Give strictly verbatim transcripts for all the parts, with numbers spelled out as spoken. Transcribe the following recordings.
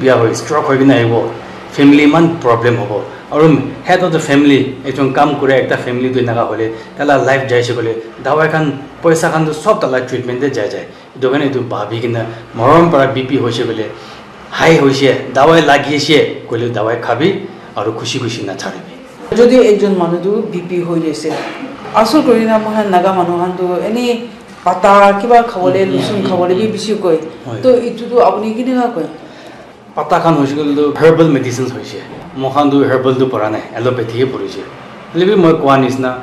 Bia hoi, stroke hoi kena ahibo, family eman problem hobo. Aru head of the family, ekjon kam kura ekta family tu enaka hoile, taila life jaise koile, dawai khan, poisa khan tu sob taila treatment te jai jai. Etu karne etu bhabi kena, morom para B P hoise koile, high hoise, dawai lagi ase koile dawai khabi, aru khushi khushi nacharibi. Jodi ekjon manu tu B P hoi jaise, asol kori na moikhan Naga manu khan tu eni pata kiba khabole, lusun khabole bi bishi koi. Hoi. To etu tu apuni kineka koi? Pata khan hoise koile tu herbal medicines hoise. Moikhan tu herbal tu pora nai, allopathy he porise. Hoile bi moi koa nisna,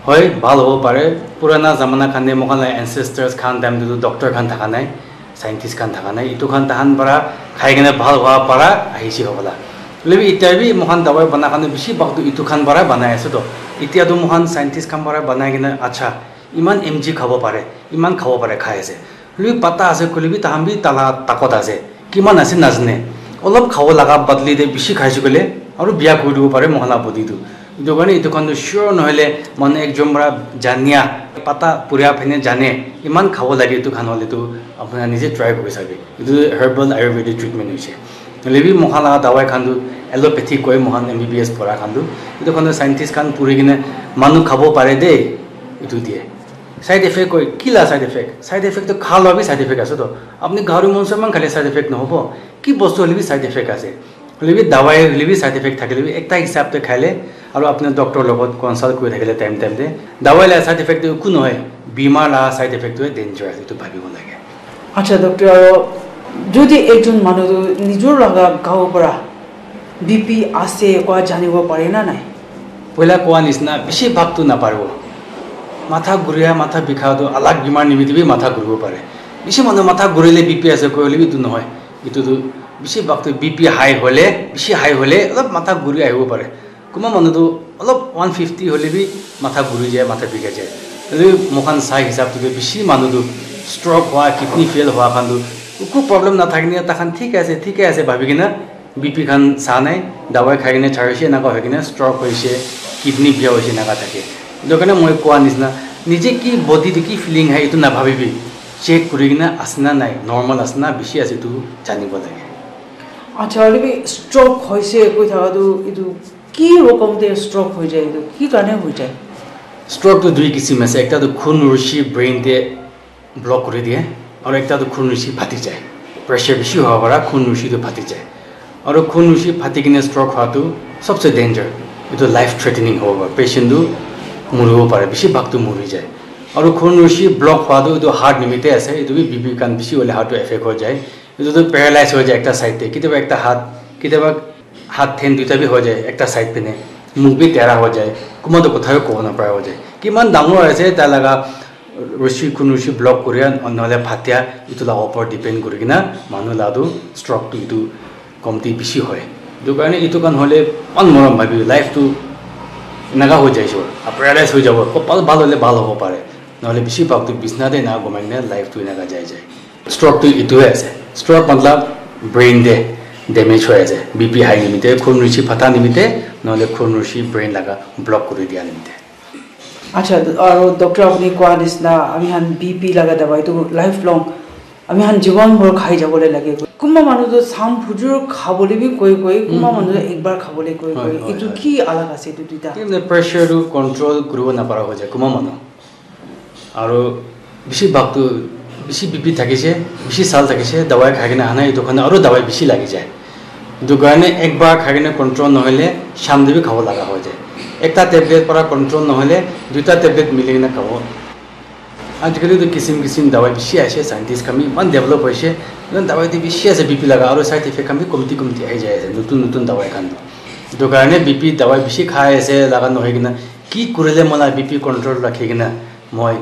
hoi, bhal hobo pare. Purana zamana khan te moikhan la ancestors khan time te tu doctor khan thaka nai, scientist khan thaka nai. Etu khan tahan para khai kena bhal hua para ahise hobola. Hoile bi itya bi moikhan dawai bana khan tu bishi bhag tu etu khan para banai ase to. Itya tu moikhan scientist khan para banai kena, acha, iman M G khabo pare, iman khabo pare khai ase. Hoilebi pata ase, hoilebi tahan bi tala takot ase. Kiman ase najane. Olop khabo laga badli te bishi khaise koile, aru biya kuri dibo pare moikhan la body tu. Etu karne etu khan tu sure nohoile manu ekjon para jania, pata puria phene jane, iman khabo lage etu khan hoile tu apuna nije try kuri sabi. Etu herbal ayurvedic treatment hoise. Hoilebi moikhan la dawai khan tu allopathy koi moikhan M B B S pora khan tu. Etu khan tu scientist khan puri kena manu khabo pare de, etu diye. Side effect koi, ki la side effect? Side effect to kha la bi side effect ase to. Apni gari monso man khale side effect nohobo. Ki bostu hoile bi side effect ase. Hoile bi dawai hoile bi side effect thakile bi ekta hisab te khaile aru apni doctor logot consult kuri thakile time time te. Dawai la side effect to ku nohoi. Bimar la side effect to danger ase, etu bhabibo lage. Acha, doctor, aro jodi ekjon manu tu nijor laga gao para B P ase koa janibo pare na nai? Poila koa nisna bishi bhag tu naparibo. Matha guria, matha bikha tu alag bimar nimite bi matha guribo pare. Bishi manu matha gurile B P ase koile bi etu nohoi. Etu tu bishi bhag tu B P high hole, bishi high hole olop matha guri ahibo pare. Kunba manu tu olop one fifty hole bi matha guri jai, matha bikha jai. Hoile bi moikhan sai hisab tu bishi manu tu stroke hua, kidney fail hua khan tu eku problem nathaki na takhan thik ase, thik ase bhabi kena B P khan sa nai, dawai khai kena charise, enaka hoi kena stroke hoise, kidney biya hoise, enaka thake. Etu karne moi koa nisna, nije ki body te ki feeling hai, etu nabhabibi. Check kuri kena ase na nai, normal ase na bishi ase, etu janibo lage. Acha, hoile bi stroke hoise koi thaka tu etu ki rokom te stroke hoi jai, etu ki karne hoi jai? Stroke tu dui kisim ase, ekta tu khun rushi brain te block kuri diye, aru ekta tu khun rushi phati jai. Pressure bishi howa para khun rushi tu phati jai. Aru khun rushi phati kena stroke hua tu sobse danger. Etu life threatening hobo para, patient tu muribo pare, bishi bhag tu muri jai. Aru khun rushi block hua tu etu heart nimite ase, etu bi B P khan bishi hole heart tu effect hoi jai. Etu tu paralyze hoi jai ekta side te, kitiaba ekta hat, kitiaba hat then duita bi hoi jai, ekta side phene mukh bi tera hoi jai, kunba tu kotha bi kobo napara hoi jai. Kiman dangor ase tai laga rushi, khun rushi block kuria nohole phatia, etu la opor depend kuri kena manu la tu stroke tu etu komti bishi hoi. Etu karne etu khan hole eman morom bhabi, life tu enaka hoi jai, sure, a paralyze hoi jabo, kopal bhal hole bhal hobo pare, nohole bishi bhag tu bisna te enaka gumai kena life tu enaka jai jai. Stroke tu etu he ase, stroke matlab brain te damage hoi ase, B P high nimite, khun rushi phata nimite, nohole khun rushi brain laga block kuri dia nimite. Acha, aru doctor apuni koa nisna, ami khan B P laga dawai tu lifelong, ami khan jiwan bhor khai jabole lage. Kunba manu tu sam phujur khabole bi koi koi, kunba manu tu ekbar khabole koi koi. Etu ki alag ase etu duita? Ki hoile pressure tu control kuribo napara hoi jai, kunba manu. Aru bishi bhag tu bishi B P thakise, bishi sal thakise, dawai khai kena ahina, etu khan aru dawai bishi lagi jai. Etu karne ekbar khai kena control nohole sham te bi khabo laga hoi jai. Ekta tablet para control nohole duita tablet mili kena khabo. Ajikali tu kisim kisim dawai bishi aise, scientist khan bi eman develop hoise, eman dawai tu bishi ase B P laga, aru side effect khan bi komti komti ahi jai ase, notun notun dawai khan. Etu karne B P dawai bishi khai ase laga nohoi kena, ki kurile moi la B P control rakhi kena moi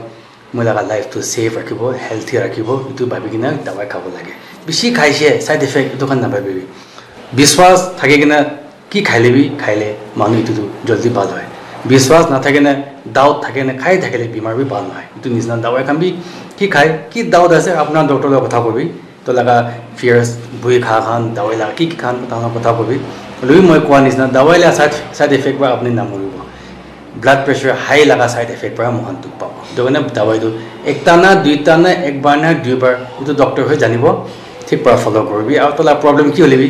moi laga life tu safe rakhibo, healthy rakhibo, etu bhabi kena dawai khabo lage. Bishi khaise, side effect etu khan nabhabibi. Biswas thaki kena ki khaile bi khaile manu etu tu jaldi bhal hoi. Biswas nathaki na doubt thaki na khai thakile bimar bi bhal nohoi. Etu nisna dawai khan bi ki khai, ki doubt ase apna doctor log kotha kobi. To laga fears, bui kha khan, dawai laga ki ki khan, tahan kotha kobi. Hoilebi moi koa nisna, dawai la side, side effect para apni namuribo. Blood pressure high laga side effect para moikhan dukh pabo. Etu karne dawai tu ekta na, duita na, ekbar na, duibar, etu doctor hoi janibo. thik para follow kuribi, aru tala problem ki hoile bi